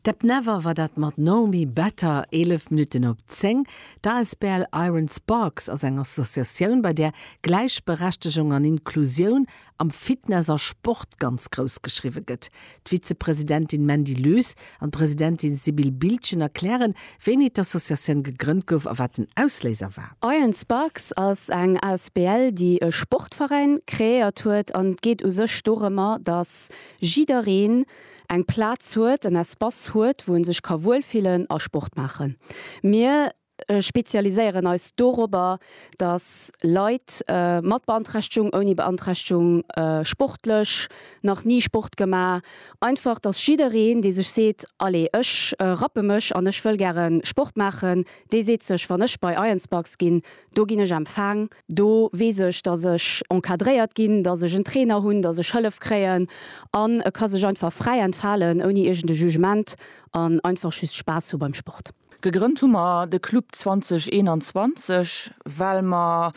Depp Never war dat mat Know Me Better, 11 Minutten op 10. D'asbl Iron Sparks ass eng Associatioun, bei där Gläichberechtegung an Inklusioun am Fitness a Sport ganz grouss geschriwwe gëtt. D'Vizepresidentin Mandy Loes an d'Presidentin Sibylle Biltgen erklären, wéini d'Associatioun gegrënnt gouf a wat den Ausléiser war. Iron Sparks ass eng asbl, déi e Sportveräin kreéiert huet an et geet u sech dorëmmer, datt jiddereen eng Plaz huet, en Espace huet, wou en sech ka wuelfillen a Sport maachen. Mir spezialiséieren eis dorobber, dass Leit mat Beanträchtegung, ouni Beanträchtegung, sportlech, nach ni Sport gemaach, einfach dass jiddereen, dee sech seet, allez, ech rappe mech an ech wëll gäre Sport maachen, dee seet sech, wann ech bei Ironsparks ginn, Do ginn ech empfaang, do weess ech, dass ech encadréiert ginn, dass ech en Trainer hunn, dass ech Hëllef kréien an e ka sech einfach fräi entfalen, ouni iergend e Jugement an einfach just Spaass hu beim Sport. Gegrënnt hu mer de Club 2021, well mer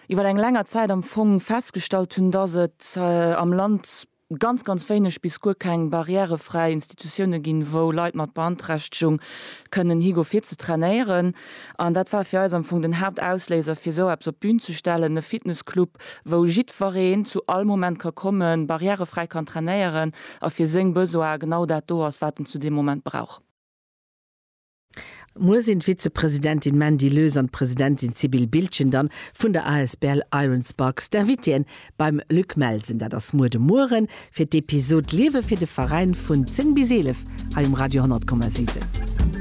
iwwer eng länger Zäit am Fong festgestallt hunn, dass et am Land ganz, ganz wéineg bis guer keng barrièrefräi Institutioune ginn, wou Leit mat Beanträchtegung kënnen higo fir ze trainéieren. An dat war fir eis am Fong den Haaptausléiser, fir esou eppes op d'Bün ze stellen, e Fitnessclub, wou jiddwereen zu all Moment ka kommen, barrièrefräi kann trainéieren a fir seng Besoine genau dat do ass, wat en zu deem Moment brauch. Muer sinn d'Vizepresidentin Mandy Loes an d'Presidentin Sibylle Biltgen dann vun der asbl Iron Sparks d'Invitéen beim Luc Melsen. Dat ass muer de Mueren fir d'Episod Liewe fir de Veräin vun 10 bis 11 hei um Radio 10,7.